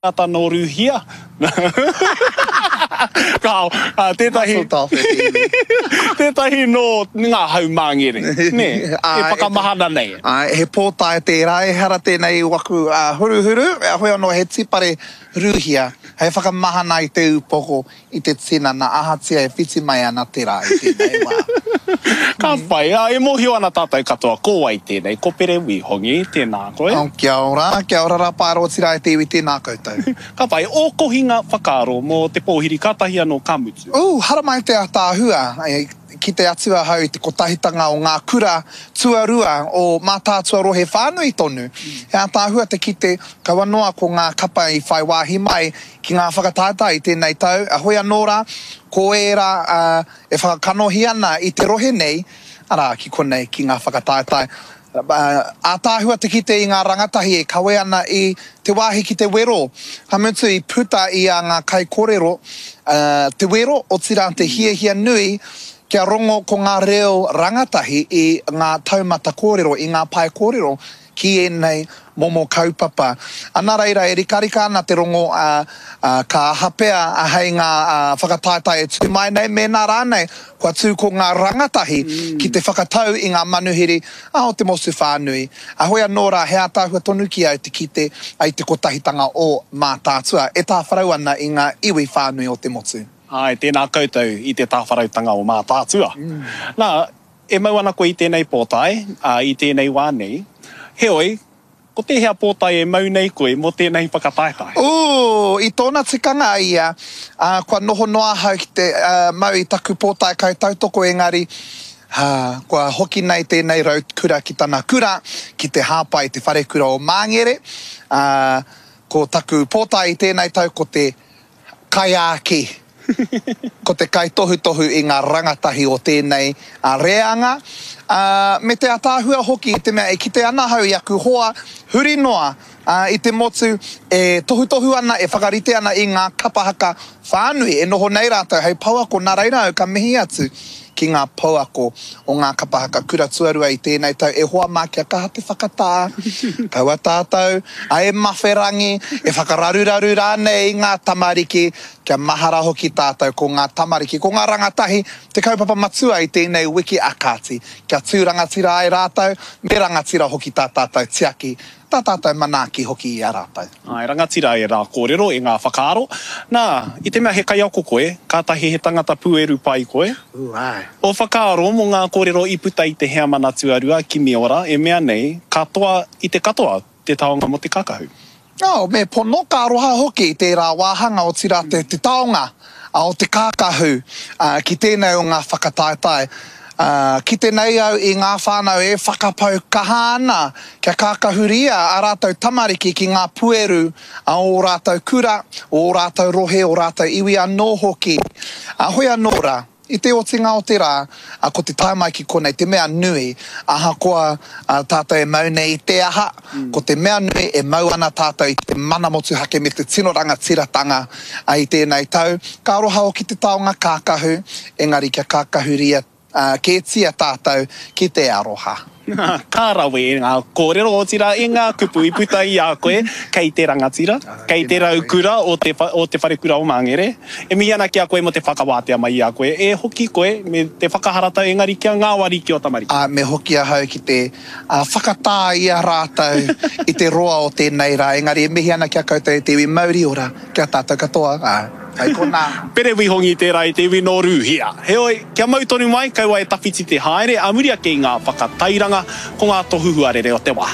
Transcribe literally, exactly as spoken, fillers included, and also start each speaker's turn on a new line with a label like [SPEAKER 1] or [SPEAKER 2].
[SPEAKER 1] Tangata nō Rūhia. Kāo, tētahi, tētahi nō ngā haumāngere, nē, e whakamahana nei.
[SPEAKER 2] Āe, he pōtae tērā, ehara tēnei i waku huruhuru, heoi anō he tīpare Rūhia hei whakamahana i te upoko, i te tinana, ahatia e whiti mai ana te rā i tēnei wā.
[SPEAKER 1] Ka pai, ā, e mōhio ana tātou katoa ko wai tēnei, ko Pere Wīhongi, tēnā koe.
[SPEAKER 2] Oh, kia ora, kia ora rā Paera otirā e te iwi, tēnā koutou.
[SPEAKER 1] Ka pai, ō kohinga whakaaro mō te pōhiri kātahi anō ka mutu.
[SPEAKER 2] Ooh, haramai te ataahua, kite atu ahau i te kotahitanga o ngā kura tuarua o Mātaatua rohe whānui tonu. He ataahua te kite, kaua noa ko ngā kapa i whai wāhi mai ki ngā whakataetae i tēnei tau, heoi anō rā, ko ērā e whakakanohi ana i te rohe nei, arā, ki konei, ki ngā whakataetae. Ātaahua te kite i ngā rangatahi e kawe ana i te wāhi ki te wero, ka mutu i puta i a ngā kaikorero te wero, otirā te hiahia nui kia rongo ko ngā reo rangatahi i ngā taumata kōrero, i ngā pae kōrero ki ēnei momo kaupapa. Nā reira, e rikarika ana te rongo, ā, ka aha pea hei ngā whakataetae e tū mai nei, mēnā rānei kua tū ko ngā rangatahi ki te whakatau i ngā manuhiri o te motu whānui. Heoi anō rā, he ātaahua tonu ki au te kite i te kotahitanga o Mātaatua e tāwharau ana i ngā iwi whānui o te motu.
[SPEAKER 1] Āe, tēnā koutou i te tāwharautanga o Mātaatua. Nā, e mau ana koe i tēnei pōtae, ā, i tēnei wā nei. Heoi, ko tēhea pōtae e mau nei koe mō tēnei whakataetae?
[SPEAKER 2] Ooh, i tōna tikanga ia, ā, kua noho noa ahau ki te, ā, mau i taku pōtae kaitautoko engari, ā, kua hoki nei tēnei rau kura ki tana kura, ki te hāpai i te wharekura o Māngere, ā, ko taku pōtae i tēnei tau ko te Kaiāki, ko te kaitohutohu i ngā rangatahi o tēnei reanga, ā, me te ataahua hoki i te mea e kite ana ahau i aku hoa huri noa i te motu e tohutohu ana, e whakarite ana i ngā kapa haka whānui e noho nei rātou hei pouako, nā reira au ka mihi atu ki ngā pouako o ngā kapa haka kura tuarua i tēnei tau, e hoa mā kia kaha te whakatā, kaua tātou e mawherangi, e whakararuraru rānei i ngā tamariki, kia mahara hoki tātou ko ngā tamariki, ko ngā rangatahi te kaupapa matua i tēnei wiki a kāti, kia tū rangatira ai rātou, me rangatira hoki tā tātou tiaki, tā tātou manaaki hoki i a rātou.
[SPEAKER 1] Āe, rangatira ērā kōrero, e ngā whakaaro. Nā, i te mea he kaiako koe, kātahi he tangata pūeru pai koe.
[SPEAKER 2] Ū, āe.
[SPEAKER 1] Ō whakaaro mō ngā kōrero i puta i te heamana tuarua, Kimiora, e mea nei, ka toa i te katoa te taonga mō te kākahu.
[SPEAKER 2] Oh, me pono, ka aroha hoki tērā wāhanga, otirā te, te taonga o te kākahu ki tēnei o ngā whakataetae. Kite nei au i ngā whānau e whakapau kaha ana kia kākahuria ā rātou tamariki ki ngā pueru a ō rātou kura, ō rātou rohe, ō rātou iwi anō hoki. Hoi anō rā, i te otinga o te rā, ko te tae mai ki konei te mea nui, ahakoa tātou e mau nei i te aha, ko te mea nui e mau ana tātou i te mana motuhake me te tino rangatiratanga i tēnei tau. Ka aroha hoki te taonga kākahu, engari kia kākahuria kētia tātou ki te aroha.
[SPEAKER 1] Ka rawe e ngā kōrero, otirā e ngā kupu i puta i a koe kei te rangatira, kei te raukura o te o te wharekura o Māngere. E mihi ana ki a koe mō te whakawātea mai i a koe. E hoki koe me te whakaharatau engari kia ngāwari ki ō tamariki.
[SPEAKER 2] Ā, me hoki ahau ki te whakatā i a rātou i te roa o tēnei rā, engari e mihi ana ki a koutou e te iwi mauri ora, ki a tātou katoa, ā, hei konā.
[SPEAKER 1] Pere Wihongi tērā i te iwi nō Rūhia. Heoi, kia mau tonu mai, kaua e tawhiti te haere, ā muri ake i ngā whakatairanga, ko ngā tohu huarere o te wā.